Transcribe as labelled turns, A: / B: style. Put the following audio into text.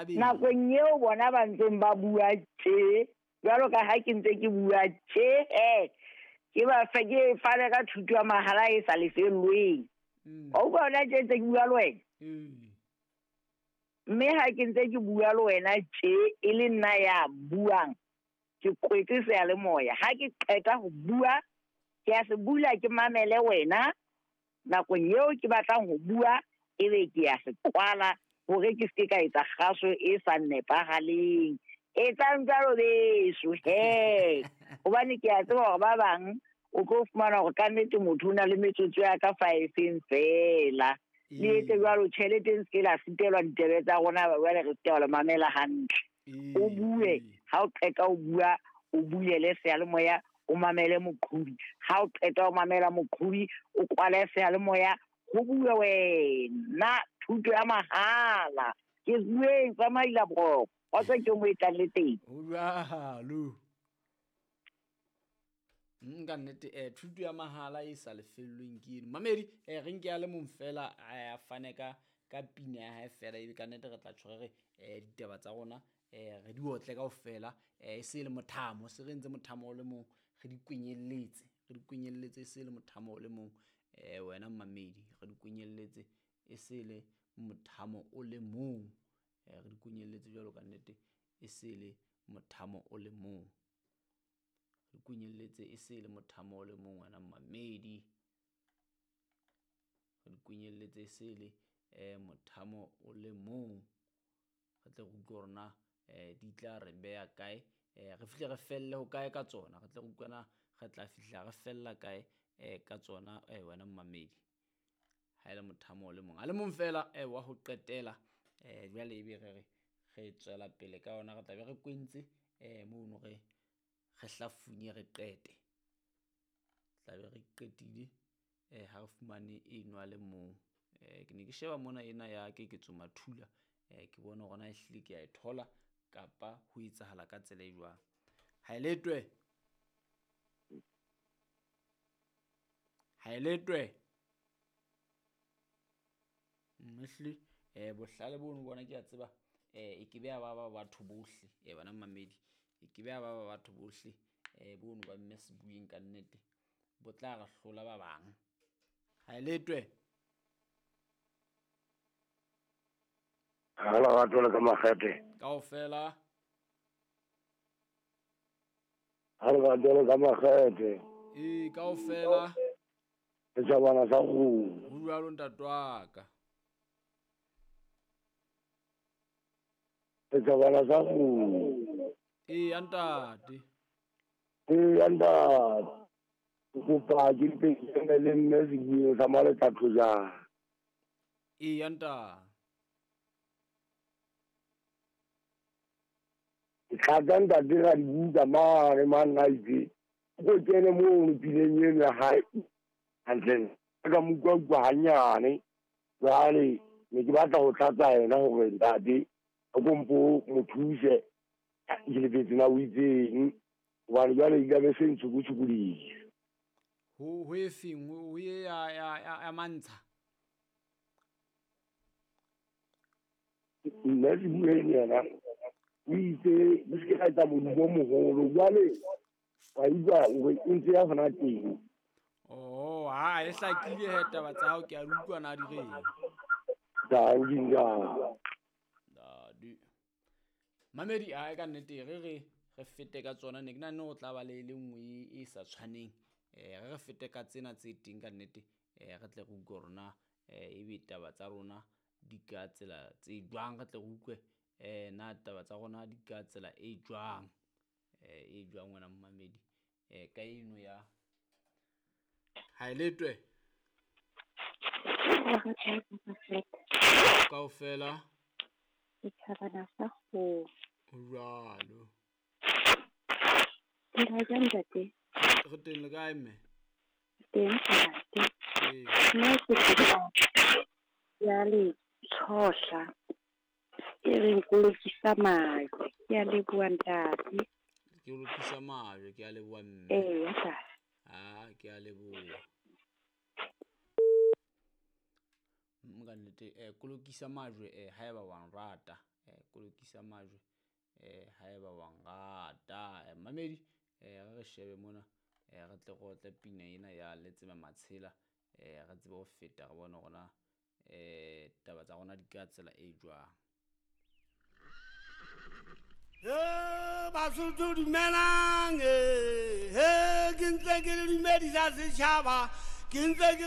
A: Habedi.
B: Nakong eo bona ba ntseng ba bua tje, jwalo ka ha ke ntse ke bua tje, he, ke ba fe, ke fane ka thuto ya mahala e sa lefellweng. Wa utlwa hona tje ntse ke bua le wena? Mme ha ke ntse ke bua le wena tje, e le nna ya buang, ke kwetse seyalemoya. Ha ke qeta ho bua, ke a se bula ke mamele wena. Nakong eo ke batlang ho bua, ebe ke a se kwala hore ke se ke ka etsa kgaso e sa nepahaleng. Etsang jwalo beso, he. Hobane ke a tseba hore ba bang o tlo fumana hore ka nnete motho o na le metsotso ya ka five-eng feela. Le etse jwalo, tjhelete e se ke la sitelwa ditebe tsa rona, jwale re se ke wa le mamela hantle. O bue, ha o qeta ho bua, o bulele seyalemoya, o mamele moqhobi. Ha o qeta ho mamela moqhobi, o kwale seyalemoya, ho bue wena, thuto ya mahala. Ke bueng tsa maila boroko, kgotso ke mo e tlang le teng.
A: Ho jwalo. Ka nnete, thuto ya mahala e sa lefellweng ke eno. Mamedi, re nke a le mong fela, a fane ka pina ya hae fela, ebe ka nnete re tla tjho re re, ditaba tsa rona, re di otle kaofela, e se le mothamo, se re entse mothamo o le mong, re di kwenyelletse, re di kwenyelletse e se le mothamo o le mong, wena mamedi, re di kwenyelletse e se le mothamo o le mong, re di kwenyelletse jwalo ka nnete e se le mothamo o le mong. Re kwenyelletse e se le mothamo o le mong, wena mamedi. Re di kwenyelletse e se le, mothamo o le mong. Re tle re utlwe hore na, di tla re beha kae, re fihle re felle ho kae ka tsona. Re tle re utlwe na re tla fihla re fella kae, ka tsona, wena mamedi. Ha e le mothamo o le mong. A le mong fela, wa ho qetela, jwale ebe re re re tswela pele ka yona, re tla be re kwentse, mono re re hlafunye re qete. Tla be re qetile, ha re fumane eno a le mong. Ke ne ke sheba mona ena ya Keketso Mathula, ke bone hore na ehlile ke a e thola kapa ho etsahala ka tsela e jwang. Ha e letwe. Ha e letwe. Ehlile, bohlale bono bona ke a tseba, e ke be ya ba ba batho bohle, bana mamedi, e ke be ya ba ba batho bohle, bono ba mme Sebueng ka nnete, bo tla re hlola ba bang. Ha e letwe.
C: Ha lerato le ka makgethe.
A: Kaofela.
C: Ha lerato le ka makgethe.
A: Ee, kaofela.
C: Setjhabana sa kgomo.
A: Ho jwalo ntate wa ka.
C: Setjhabana sa kgomo.
A: Ee, ntate.
C: Ee, ntate. Ke kopa ke mpe ke eme le mme Sebueng sa Maletlatlo jang.
A: Ee, ntate.
C: Ke tlatsa ntate ra dibuka mane mane a itse. Ko kene mono pineng eno ya hae. Hantle, ka mo utlwa utlwa hanyane. Jwale ne ke batla ho tlatsa yena hore ntate a ko mpo mo thuse. Ke lebetse na o itseng. Hobane jwale e tlabe se ntshukutshukodisa.
A: Ho e feng? Ho e ya mantsha?
C: Nna Sebueng yena o itse le se ke la etsa modumo o moholo. Jwale wa utlwa hore e ntse ya hona teng.
A: Oh, ha e hlakile he taba tsa hao, ke a utlwa na di reng.
C: Danki, ntate.
A: Dadi. Mamedi, ha ka nnete re re re fete ka tsona, ne ke nahane ho tla ba le le nngwe e sa tshwaneng. Re re fete ka tsena tse teng ka nnete, re tle re utlwe hore na, ebe taba tsa rona di ka tsela tse jwang, re tle re utlwe, na taba tsa rona di ka tsela e jwang, e jwang wena momamedi, ka eno ya ha e letwe. Kaofela.
D: Setjhabana sa kgomo.
A: Ho jwalo.
D: Le kae ntate?
A: Re teng le kae mme?
D: Teng ntate.
A: Ee.
D: Nna ke kopa ya Letshohla e reng kolokisa majwe. Ke a leboha ntate.
A: Ke lokisa majwe, ke a leboha mme.
D: Ee, ntate.
A: Ah, ke a leboha. Ka nnete, kolokisa majwe, haeba wa nrata, Kolokisa majwe haeba wa nrata. Mamedi, re re shebe mona, re tle re otle pina ena ya Letsema Matshela, re tsebe ho feta re bone hore na taba tsa rona di ka tsela e jwang.
E: He Basotho dumelang, he ke ntse ke le dumedisa setjhaba, ke ntse ke